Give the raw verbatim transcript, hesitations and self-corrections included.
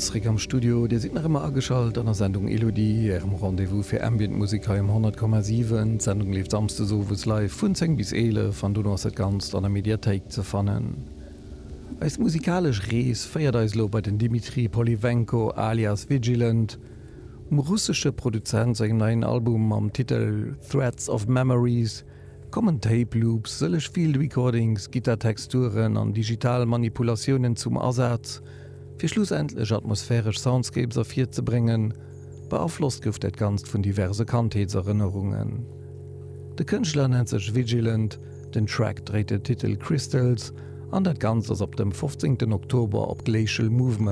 Zréck am Studio, Dir sidd nach ëmmer ageschalt an der Sendung Elodie, Ärem Rendez-vous fir Ambient Musek hei um honnert Komma siwen. D'Sendung leeft samsdes owes live vun zéng bis eelef an dono ass dat Ganzt an der Mediathéik ze fannen. Eis musikalesch Rees féiert eis elo bei den Dimitri Polivenko alias Vigilant. Um russesche Produzent sengem neien Album mam Titel Threads of Memories kommen Tape Loops, sëlleg Field Recordings, Gittar-Texturen an digital Manipulatiounen zum Asaz, fir schlussendlech atmosphäresch Soundscapes ervirzebréngen. Beaflosst gouf dat Ganzt vun diverse Kandheetserënnerungen. De Kënschtler nennt sech Vigilant, den Track dréit den Titel Crystals an dat Ganzt ass op dem fofzéngten Oktober op Glacial Movement